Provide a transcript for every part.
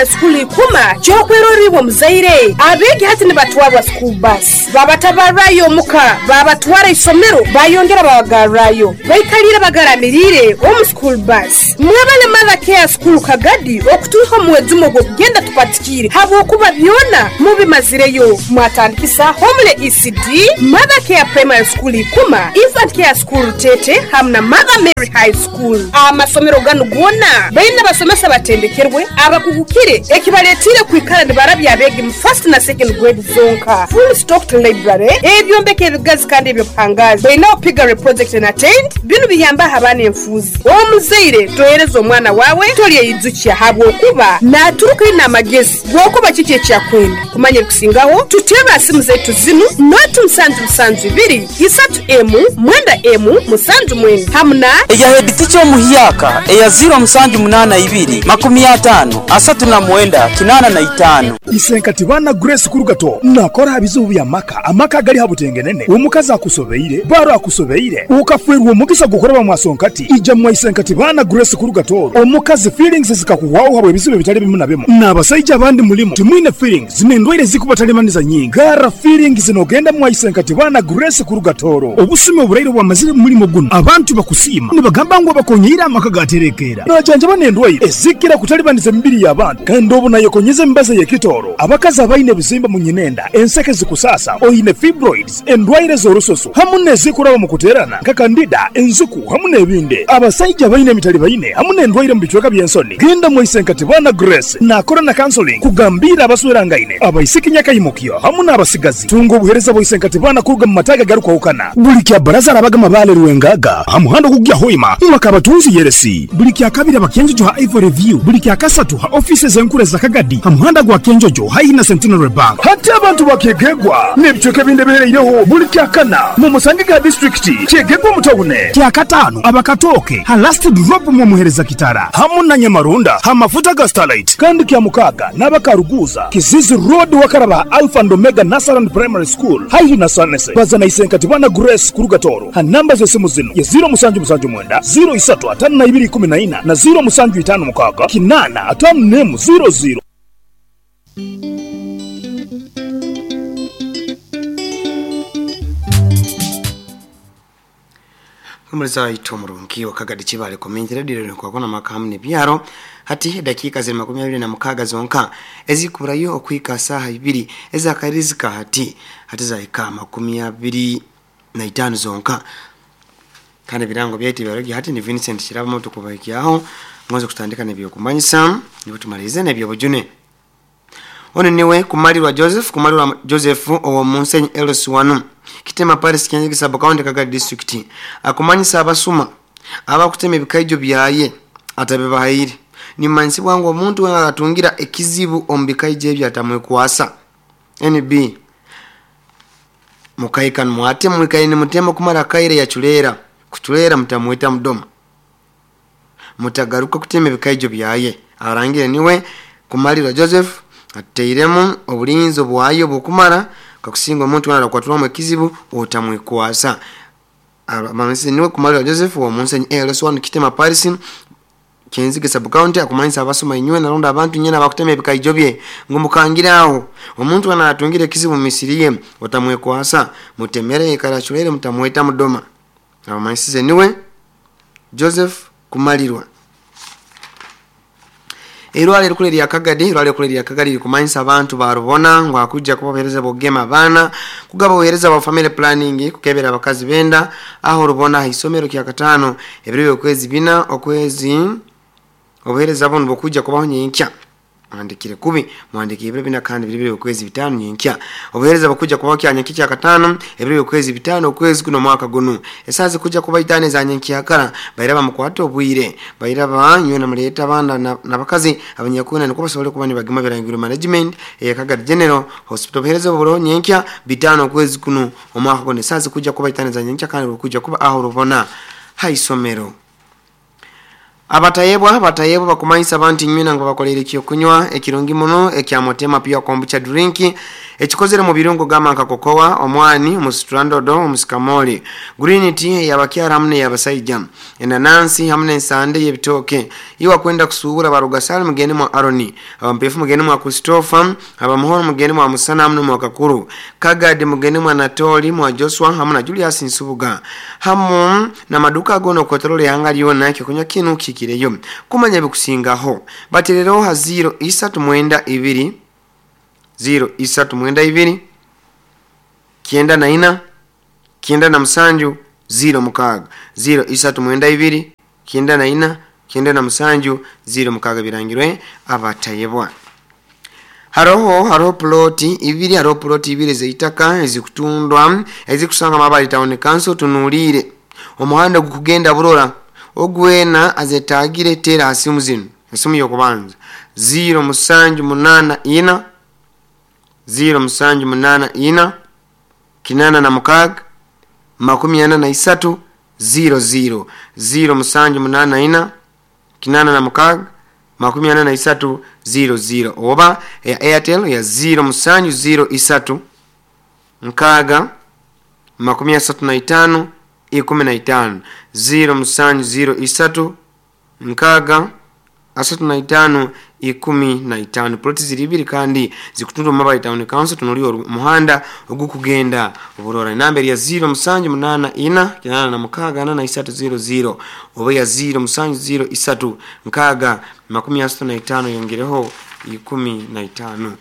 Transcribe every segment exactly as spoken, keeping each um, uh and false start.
School ikuma kyokweroribwa muzaire abegi hati nibatwarwa school bus babatabarayo muka babatwara isomero bayongera babagarrayo baikalira bagaramirire omu school bus. Mwebale Mother Care School Kagadi okutuha omwezumo gw'okugenda tupatikire habwokuba byona mubimazireyo. Mwatandikisa Homele E C D, Mother Care Primary School ikuma, Infant Care School Tete hamwe na Mother Mary High School. Amasomero ganu gona baina basomesa batendekerwe abakugukire ekibaletire kwikara nibarabya abegi mu first na second grade zonka. Full stocked library ebyombeko ebigazi kandi ebyobuhangazi baina opigare project and attend binu biyamba abaana enfuzi. Omuzaire tohereza omwana wawe tolyeyidzukya habwokuba naturuka ina amagezi gwokuba kiki ekyakwenda kumanya ebikusingaho. Tuteba simu zetu zinu noti musanju musanju ibiri isatu emu mwenda emu musanju mwenda hamuna eya head omuhyaka eya ziro musanju munana ibiri makumi atano asatu na mwenda kinana na itano. Isenkati bana Grace Kurugato nakora bizubu bya maka amaka gali habutengenene omukazi akusobeire baro akusobeire ukafwerwa omugisa gukora mwasonkati ija mwa Isenkati bana Grace Kurugato omukazi feelings zikakuwaho habwe bizubu bitali bimu na bimu n'abasajja abandi mulimo timwine feelings nendwaire zikubatalemaniza nyingi gara feelings nogenda mwa Isenkati bana Grace Kurugatoro obusime oburaire bwamazire mulimo guno abantu bakusima nibagamba ngo bakonyera amaka gaterekera najanja banendwaire ezikira kutalibaniza emibiri y'abantu kandi obu nayekonyeza embaza yekitoro abakazi abaine bizimba mu nyinenda enseke zikusasa oine fibroids endwaire z'orusoso hamu nezikuraba mu kuterana nka kandida enzuku hamu n'ebindi abasajja baine emitali baine hamu n'endwaire mu bicweka by'ensoni. Genda mu Isenkati bana Grace nakora na counseling kugambira abaswerangaine abaisiki nyakayimukyo hamu n'abasigazi tunga obuhereza bwa Isenkati bana kuruga mu mataga garukwahukana buli kya baraza arabaga mabale ruwengaga hamuhando kugya hoima mwakabatunzi yeresi buli kya kabiri abakenjojo ha Ivory View buli kya kasatu ha offices enkure za Kagadi hamuhanda gwa Kenjojo haihi na Centenary Bank. Hati abantu bakegegwa n'ebicweka ebindi bihereireho buli kya kana mu Musangiga district kyegegwa mutawune kya katano abakatoke ha last drop mu muhereza kitara hamu na Nyamarunda ha mafuta ga Starlight kandi kya mukaga n'abakaruguza Kizizi Road wakaraba Alpha and Omega Nasaran Primary School haihi na Sanese bazana Isenkati bana Grace Kurugatoro ha namba z'esimu zino ya zero musanju musanju mwenda zero isatu atano na ibiri kumi na ina na zero musanju itano mukaga kinana atano nemu zero zero. Kumuleza itomurungi wakagadi chibale komentere dire kwa kona makamu ne byaro hati dakika ziri makumi abiri na mukaga zonka ezikurayo okwika saha ibiri ezakarizika hati hati zaika makumi abiri na itano zonka kandi birango byati byaragi hati ni Vincent Kiraba moto kubaikyaho mwanzo kutandika nebyo kumanyisa nibo tumalize nebyo bujune. Ono niwe kumalirwa Joseph kumalirwa Joseph owo Munsenyi L S one Kitema Paris Kenzigi sub county Kagadi district akumanyisa abasuma abakutema ebikaijo byaye atabebahayire ni mansi bwangu omuntu we atungira ekizibu ombikaijo ebyo atamwekwasa N B mukaikan mwate mwikaine mutema kumara kaire ya chulera kuchulera mutamweta mudoma mutagaruka kutema ebikaijo byaye arangire niwe kumalirwa Joseph ateiremu obulinzi bwayo bukumara kakusinga omuntu wana kwatulwa ekizibu otamwekwasa. Amansi niwe kumalirwa Joseph wa Munsenyi L S one Kitema Paris Kenzige sub county akumanyisa abasoma inywe naronda abantu nyena bakutema ebikaijo bye ngumukangiraho omuntu wana atungira ekizibu misiriye otamwekwasa mutemere ikarachulere mutamweta mudoma. Amansi niwe Joseph kumalirwa. Irwale rukule lya Kagadi, irwale rukule lya Kagadi kumanyisa abantu barubona ngo akujja kubahereza bogema abana kugaba ohereza wa family planning kukebera abakazi benda aho rubona isomero kya katano ebiro okwezi bina okwezi obuhereza bono bokujja kubaho nyenkya mwandikire kubi mwandikire ebiro bina kandi biri okwezi bitano nyenkya obuhereza bokujja kubaho kya nyenkya kya katano ebiro okwezi bitano okwezi kuno mwaka gunu esazi kujja kuba itane za nyenkya kara bairaba mukwato obwire bairaba nywe na muleta abana nabakazi abanyakuna niko basobole kuba nibagema birangiro management e Kagadi General Hospital obuhereza buburo nyenkya bitano okwezi kuno omwaka gunu esazi kujja kuba itane za nyenkya kandi bokujja kuba aho rubona haisomero. Abatayebwa batayebwa bakumanyisa abantu nywena ngo bakolere ekyokunywa ekirungi muno ekyamotema pia kombucha drink ekikozere mu birungo gama nka kokoa, omwani, omusitrandodo, omusikamoli, green tea yabakyara hamwe yabasaija, enanansi hamwe n'ensande y'ebitoke. Iwa kwenda kusubura barugasali mugeni mwa Aroni, abampefu mugeni mwa Christopher, abamuhoro mugeni mwa Musana hamwe mwa Kakuru, Kagadi mugeni mwa Natoli mwa Joshua hamwe na Julius Nsubuga hamu na maduka gono kotorole yanga lyona ekyokunywa kinu kikireyo kumanya bikusingaho baterero ha zero isatu mwenda ibiri zero isatu mwenda ibiri kienda na ina kienda na msanju zero mukaga zero isatu mwenda ibiri kienda na ina kienda na msanju zero mukaga birangirwe abatayebwa. Haroho haroho ploti ibiri haroho ploti ibiri zeitaka ezikutundwa ezikusanga Mabali Town Council tunulire omuhanda gukugenda burora ogwena azetagire tera asimu zino esimu yokubanza zero musanju munana ina zero musanju munana ina kinana na mukaga makumi ana na isatu zero zero zero musanju munana ina kinana na mukaga makumi ana na isatu zero zero oba ya Airtel ya zero musanju zero isatu nkaga makumi asatu na itano ikumi na itano zero musanju zero isatu nkaga asatu na itano ikumi na itano. Ploti ziri ibiri kandi zikutundwa mu Mabali Town Council tunulio muhanda ogukugenda oburora. Enamba ya zero musanju munana ina kinana na mukaga ana na isatu zero zero oba ya zero musanju zero isatu nkaga makumi asatu na itano yongereho ikumi na itano.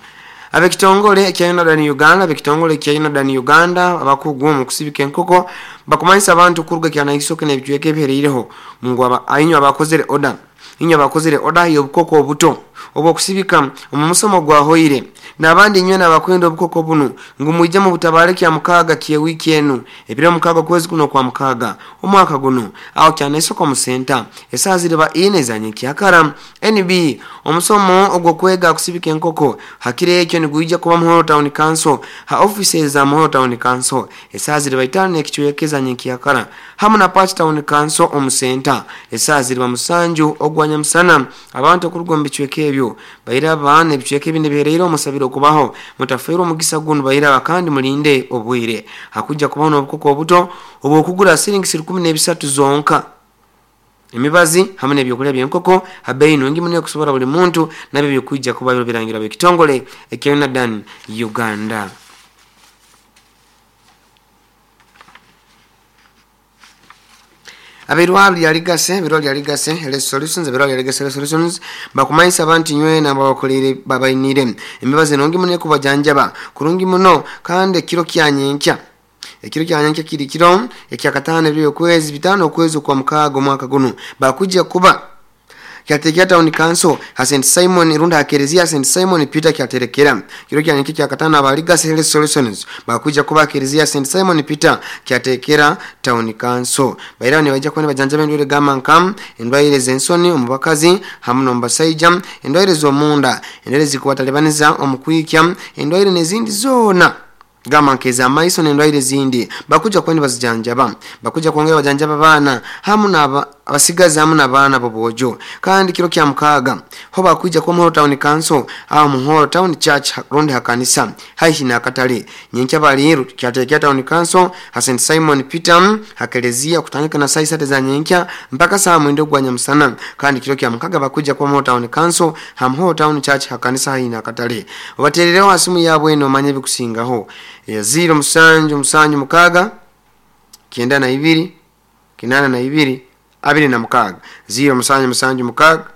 Abekitongole kya Northern Uganda abekitongole kya Northern Uganda abakugu mu kusibika enkoko bakumanyisa abantu kuruga kya naisoke n'ebicweka ebihereireho mungu aba ainyo abakozere order inyo abakozere order y'obukoko obuto obwo kusibika omu musomo gwa hoire n'abandi nywe n'abakwenda obukoko bunu ngu mwijje mu butabale kya mukaga kye wiki enu ebiro mukaga kwezi kuno kwa mukaga omwaka guno aho kya naisoko mu center esaa ziriba ine zanye kyakara N B omusomo ogwo kwega kusibika enkoko hakire ekyo niguija kuba Muhoro Town Council ha offices za Muhoro Town Council esaa ziriba itano ekichwekeza nyekyakara hamu na Patch Town Council omu center esaa ziriba musanju ogwanya musana abantu okuruga mu bicweka ebyo bairaba n'ebicweka ebindi bihereire omusabiro kubaho mutafeerwa omugisa guno bairaba kandi mulinde obwire hakujja kubaho n'obukoko obuto obwokugura siringi rukumi n'ebisatu zonka emibazi hamwe n'ebyokulya by'enkoko habeyi nungi muno okusobola buli muntu nabyo byokujja kuba birangira bekitongole ekya Northern Uganda. Abirwali yaligase birwali yaligase health solutions birwali yaligase health solutions bakumanyisa abantu nywe na babakolere babainire emibazi nungi muno kubajanjaba kurungi muno kandi ekiro kyanyenkya ekiro kyanyenkya kiri kiro ekyakatano ebyo kwezi bitano kwezi kwa mukago mwaka guno bakujja kuba kyatekera Town Council ha Saint Simon runda akerezia Saint Simon Peter kyaterekera kiro kyanyenkya kyakatano abaligase health solutions bakujja kuba akerezia Saint Simon Peter kyatekera Town Council baira ni bajja kwene bajanja bendwere gama nkam endwaire zensoni omubakazi hamu nombasaija endwaire z'omunda endwaire zikubatalebaniza omukwikya endwaire n'ezindi zona gama nkeza amaiso n'endwaire zindi bakuja kwene bazijanjaba bakuja kwongera bajanjaba bana hamu na abasigazi hamu n'abaana bobojo kandi kiro kya mukaga ho bakuja kwa Muhoro Town Council aho Muhoro Town Church rundi hakanisa haihi na katale nyenkya baliru kyatekera Town Council ha Saint Simon Peter hakelezia kutandika na saa sita za nyenkya mpaka saa mwenda gwa nyamusana kandi kiro kya mukaga bakuja kwa Muhoro Town Council ha Muhoro Town Church hakanisa haihi na katale obaterereho asimu yabwe eno manye bikusingaho ya zero musanju musanju mukaga kienda na ibiri kinana na ibiri abiri na mukaga zero musanju musanju mukaga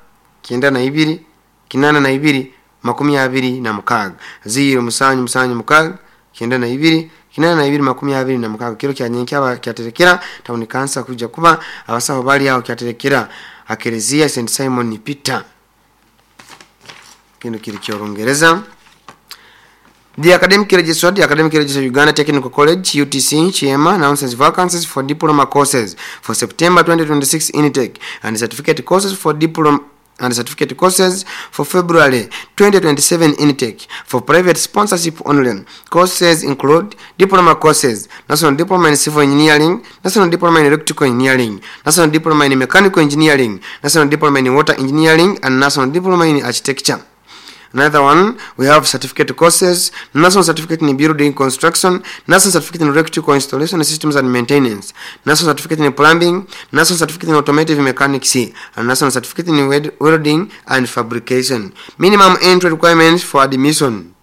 kienda na ibiri kinana na ibiri makumi abiri na mukaga zero musanju musanju mukaga kienda na ibiri kinana na ibiri makumi abiri na mukaga kiro kya nyenkya kyaterekera Town Council kuja kuba abasaho bali aho kyaterekera akerezia Saint Simon Peter kino kiri kyorungereza. The Academic Registrar, the Academic Registrar Uganda Technical College, U T C, Chiema, announces vacancies for diploma courses for September twenty twenty-six intake and certificate courses for diploma and certificate courses for February twenty twenty-seven intake for private sponsorship only. Courses include diploma courses, National Diploma in Civil Engineering, National Diploma in Electrical Engineering, National Diploma in Mechanical Engineering, National Diploma in Water Engineering, and National Diploma in Architecture. Another one, we have certificate courses, National Certificate in Building Construction, National Certificate in Electrical Installation Systems and Maintenance, National Certificate in Plumbing, National Certificate in Automotive Mechanics, and National Certificate in Welding and Fabrication. Minimum entry requirements for admission.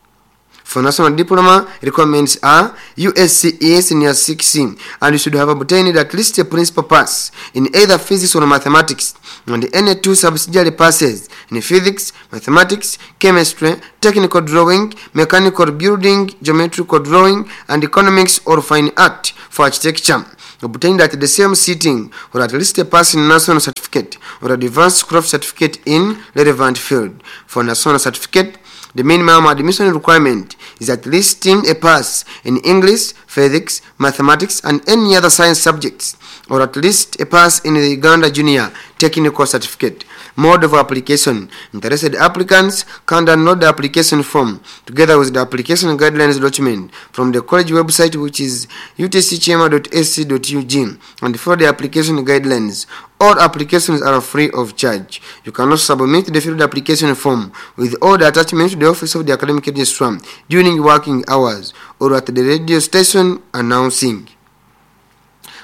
For National Diploma, requirements are U S C E Senior six, and you should have obtained at least a principal pass in either physics or mathematics, and any two subsidiary passes in physics, mathematics, chemistry, technical drawing, mechanical building, geometrical drawing, and economics or fine art for architecture, obtained at the same sitting, or at least a pass in national certificate or advanced craft certificate in relevant field. For national certificate, the minimum admission requirement is at least a pass in English, physics, mathematics, and any other science subjects, or at least a pass in the Uganda Junior Technical Certificate. Mode of application. Interested applicants can download the application form together with the application guidelines document from the college website, which is u t c chema dot a c dot u g, and follow the application guidelines. All applications are free of charge. You can also submit the filled application form with all the attachments to the office of the academic registrar during working hours or at the radio station announcing.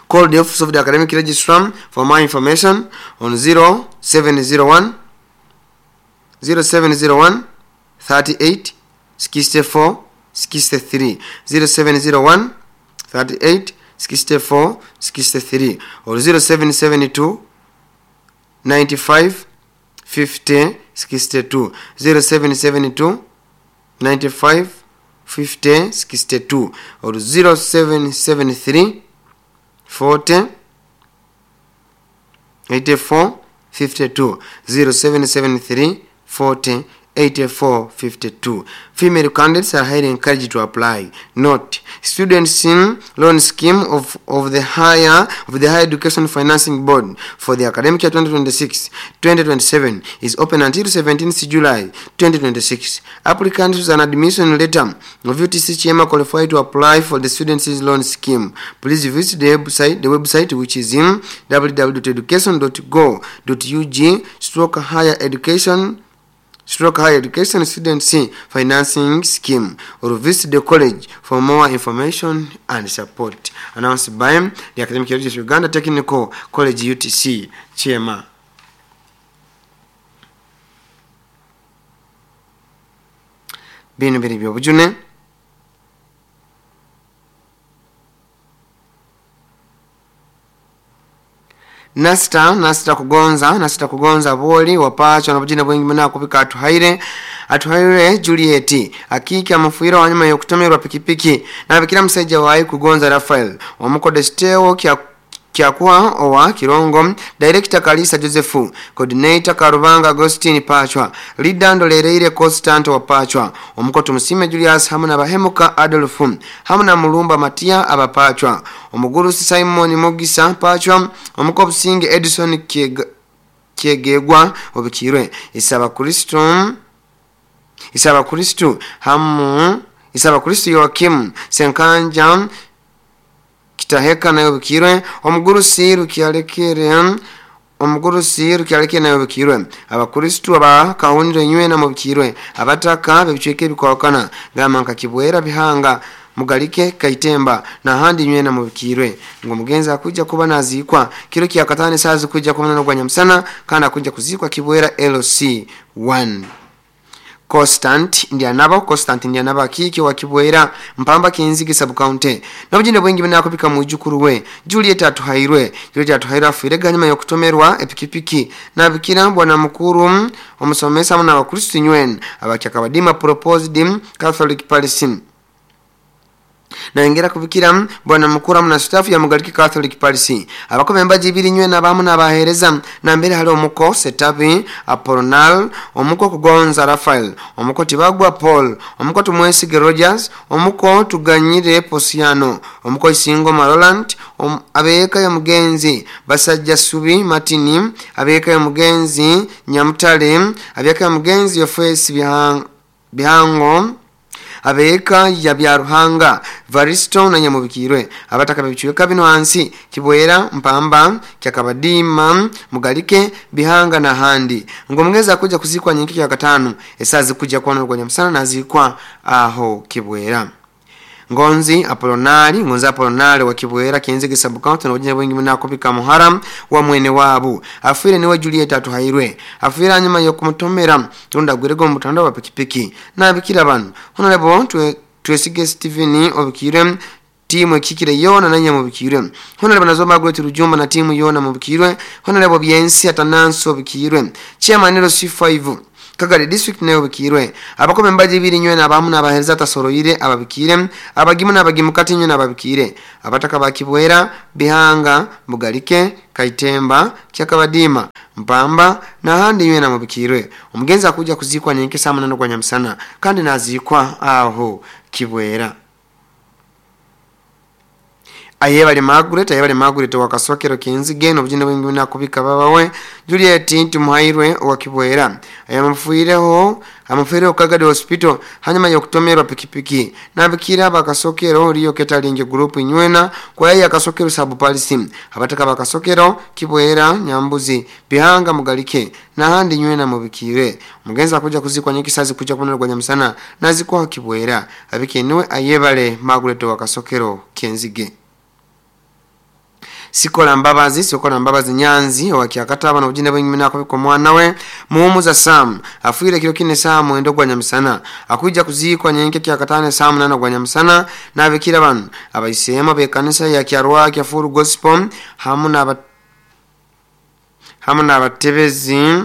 Call the office of the academic registrar for more information on zero seven zero one, zero seven zero one thirty-eight sixty-four sixty-three, zero seven zero one thirty-eight sixty-four sixty-three, or zero seven seven two ninety-five fifty sixty-two, zero seven seven two ninety-five fifty sixty-two, or zero seven seven three forty eighty-four fifty-two, zero seven seven three forty eighty-four fifty-two. Female candidates are highly encouraged to apply. Note, students in loan scheme of, of the higher of the Higher Education Financing Board for the academic year twenty twenty-six twenty twenty-seven is open until seventeenth July twenty twenty-six. Applicants with an admission letter of U T C Chema qualify to apply for the students loan scheme. Please visit the website, the website which is in w w w dot education dot go dot u g stroke higher education stroke higher education students financing scheme, or visit the college for more information and support. Announced by the Academic Heritage Uganda Technical College U T C Chema. Bino biri byobujune. Nasta, nasta kugonza, nasta kugonza boli, wapacho na bujina bwengi muna kupika atuhaire, atuhaire Juliet, akiki amufuira wanyuma yokutomerwa pikipiki, na bikira msaija wae kugonza Rafael, wamukodesteo kia Kiakua owa Kirongo, Director Kalisa Josephu, Coordinator Karubanga Agostini Pachwa, Leader Ndolereire Constant wa Pachwa, Omukoto Musime Julius hamuna Bahemuka Adolfu, hamuna Mulumba Matia Abapachwa, Omugurusi Simon Mugisa Pachwa, Omukobusinge Edison Kiegegwa Obikirwe, Isaba Kristo, Isaba Kristo, hamu, Isaba Kristo Joakim, Senkanja, Kitaheka na yobikirwe, omugurusi rukyalekere, omugurusi rukyalekere na yobikirwe, abakristu aba kahundire nywe na mubikirwe, abataka bebicweke bikwakana, gama nkakibwera bihanga, mugalike kaitemba na handi nywe na mubikirwe. Ngo mugenzi akuja kuba nazikwa kiro kya katane sazi kuja kumana no gwanyamsana kana kuja kuzikwa kibwera L C one. Constant Ndianaba, Constant Ndianaba kiki wa Kibwera Mpamba Kinzigi sub county. Nabujinde bwengi bina kupika mujukuru we Juliet atuhairwe, Juliet atuhairwe afuire ganyuma yokutomerwa epikipiki na bikira bwana mukuru omusomesa na abakristo nywen abakyakabadima proposed Catholic Palestine. Nayongera kubikira bwana mukuru na staff ya Mugalike Catholic Parish abakobe embaji ibiri nywe nabamu nabahereza na mbere hali omuko Setabi Apolonal, omuko Kugonza Rafael, omuko Tibagwa Paul, omuko Tumwesige Rogers, omuko Tuganyire Posiano, omuko Isingo Maroland, om, abeeka ya mugenzi Basajja Subi Martini, abeeka ya mugenzi Nyamutale, abeeka ya mugenzi Yofesi Bihang, Bihango, abeeka ya Byaruhanga Varisto na Nyamubikirwe. Abataka bichweka bino hansi Kibwera, Mpamba, Kyakabadima, Mugalike, Bihanga na handi. Ngomgeza kuja kuzikwa nyingi ya katano esazi kuja kwa nurugwa msana na zikwa aho Kibwera. Ngonzi Apolonari, Ngonzi Apolonari wa Kibwera Kenzige sub county na ujina wengi mna kupika Muharam wa mwene wabu. Afire niwe Juliet Atuhairwe. Afire anyuma yokumutomera tunda gwirego mutandao wa pikipiki. Na bikira banu. Honorable twe Twesige Steven obikire timu ekikire yona na Nyamubikirwe. Honorable Nazoma Gwete Rujumba na timu yona mubikirwe. Honorable Byensi Atananso obikirwe. Chairman L C five Kagari district nayo bikirwe. Abakobe mbaji ibiri nywe na abamu n'abahereza tasoroire ababikire, abagimu n'abagimukati nywe n'ababikire. Abataka ba Kibwera, Bihanga, Mugalike, Kaitemba, Kyakabadima, Mpamba na handi nywe na mubikirwe. Omugenzi akuja kuzikwa nyenke saa munana gwa nyamusana kandi nazikwa aho Kibwera. Ayebale Margaret, ayebale Margaret wa Kasokero Kenzige n'obujina bwingi nakubika babawe Juliet Tumuhairwe wa Kibwera. Ayamufuireho, amufuireho Kagadi Hospital hanyuma yokutomerwa pikipiki. Nabikira bakasokero riyo ketalinge group nywena kwa ya Kasokero sub policy. Abataka bakasokero Kibwera, Nyambuzi, Bihanga, Mugalike na handi nywena mubikire. Mugenza kuja kuzikwa nyingi sazi kuja kunonerwa nyamusana nazikwa Kibwera. Abike niwe ayebale Margaret wa Kasokero Kenzige. Sikola Mbabazi, Sikola Mbabazi Nyanzi wa Kyakataba na ujina bwingi nakubika mwana we Muhumuza Sam afuire kilo kine saa mwendo gwa nyamusana akuja kuzikwa nyenke Kyakatane saa munana gwa nyamusana na abikira banu abaisema be kanisa ya Kyarwa kya Full Gospel hamu na hamu na abatebezi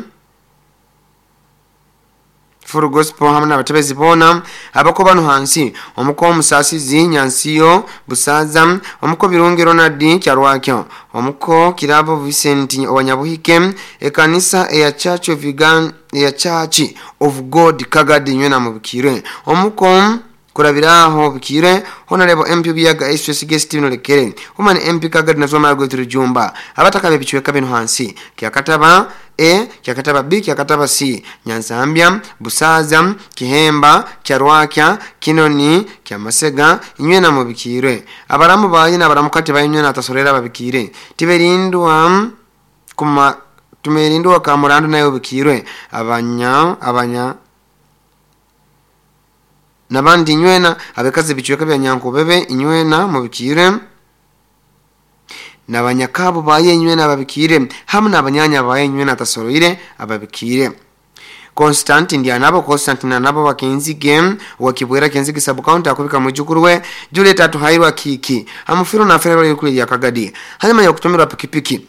Full Gospel hamu na abatebezi bona abako bano hansi omuko Musasizi Nyansiyo Busaza, omuko Birungi Ronald Kyarwakyo, omuko Kirabo Vincent Owanyabuhike, ekanisa eya Church of Uganda ya Church of God Kagadi nywe na mubikire, omuko kurabiraho bikire Honorable M P Biyaga S S Guest Lekere, Woman M P Kagadi na Zoma Gweturu Jumba. Abataka bebichweka bino hansi Kyakataba A, Kyakataba B, Kyakataba C, Nyanzambia, Busaza, Kihemba, Kyarwakya, Kinoni, Kyamasega inywe na mubikire. Abaramu bayi na abaramukati bayi na atasorera babikire. Tiberindwa kuma tumerindwa kamurandu nayo bikirwe. Abanya abanya nabandi nywena abekazi bichweka bya Nyankubebe inywena mubikire nabanyakabo baye nywena ababikire hamwe nabanyanya baye nywena atasoroire ababikire. Constantine Ndianabo, Constantine nabo wakenzige wakibwera Kenzige sub county akubika mujukuru we Juliet Atuhairwa Kiki amufiro na ferero yukuli ya Kagadi hanyuma yokutomerwa pikipiki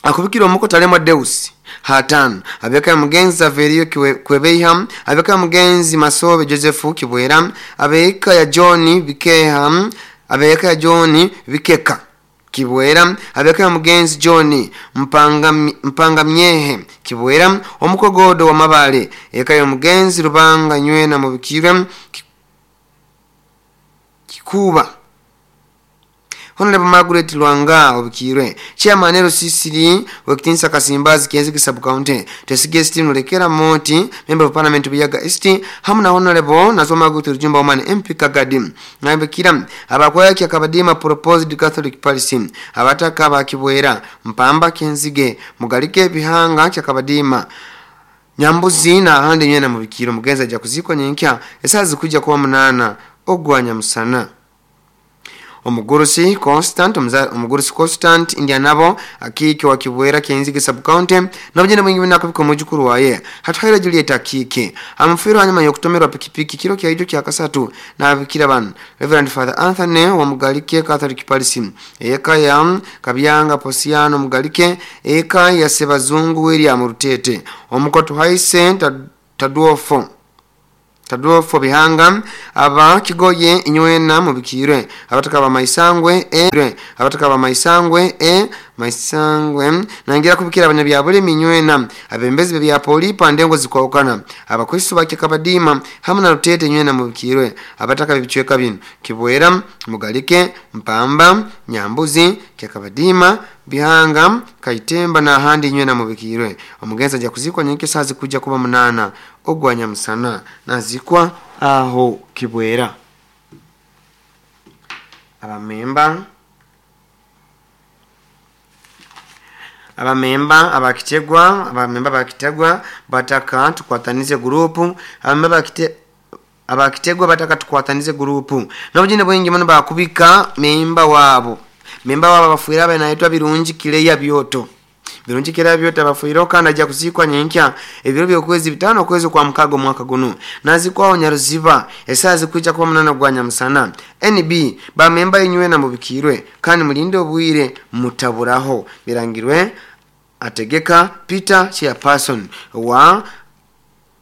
akubikira omuko Talema Deus hatan abeka mugenzi Averio Kwebeiha, abeka mugenzi Masobe Joseph Kibwera, abeka ya John Bikeha, abeka ya John Bikeka Kibwera, abeka ya mugenzi John Mpanga Mpanga Myehe Kibwera, omukogodo wa Mabale, eka ya mugenzi Rubanga nywena mubikirwe Kikuba. Honorable Margaret Lwanga obikirwe Chairman L C C wekitinsa Kasimbazi Kenzige sub county Tesige Steven Lekera Moti member of parliament Biyaga East hamu na Honorable Nazoma Gutu Rujumba Woman M P Kagadi nabikira abakwaya Kyakabadima proposed Catholic policy abataka bakibwera Mpamba Kenzige Mugalike Bihanga Kyakabadima Nyambuzi na handi nyena mubikiro. Mugenza ja kuzikwa nyenkya esazi kuja kuwa munana ogwa nyamusana. Omugurusi Constant, Omugurusi Constant Indianabo akike wa Kibwera Kenzige sub county nabujina mwingi nakubika mujukuru waye Hatuhaira Juliet akike amufiro hanyuma yokutomerwa pikipiki kilo kya ijo kya kasatu na bikira banu Reverend Father Anthony wa Mugalike Catholic Parish eka ya Kabyanga Posiano Mugalike eka ya Sebazungu William Rutete omukotu Haise Taduofo Tadolfo Bihanga aba Kigoye inywena mubikirwe abataka ba Maisangwe e abataka ba Maisangwe e Maisangwe nangira kubikira abanyabyabule minywena abembezi bya poli pandengo zikwaukana abakristo bakikabadima hamwe na Rutete nywena mubikirwe abataka bibicweka bino Kibwera, Mugalike, Mpamba, Nyambuzi, Kyakabadima, Bihanga, Kaitemba na handi nywena mubikirwe. Omugenzi aja kuzikwa nyinki sazi kuja kuba munana ogwanya musana nazikwa aho Kibwera. Abamemba abamemba abakitegwa abamemba bakitegwa bataka tukwatanize grupu abamemba bakite abakitegwa bataka tukwatanize grupu nabujine bwingi muno bakubika memba wabo memba wabo bafuira abanaitwa Birungi Kileya Byoto Birungi Kileya Byoto abafuira kandi aja kuzikwa nyenkya ebiro byokwezi bitano kwezi kwa mukago mwaka guno nazikwa Nyaruziba esazi kuja kuba munana gwanya musana N B bamemba inywe na mubikirwe kandi mulinde obwire mutaburaho birangirwe ategeka Peter chairperson wa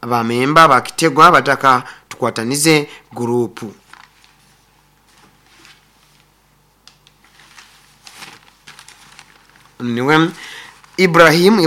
abamemba bakitegwa bataka tukwatanize grupu. Niwe Ibrahim.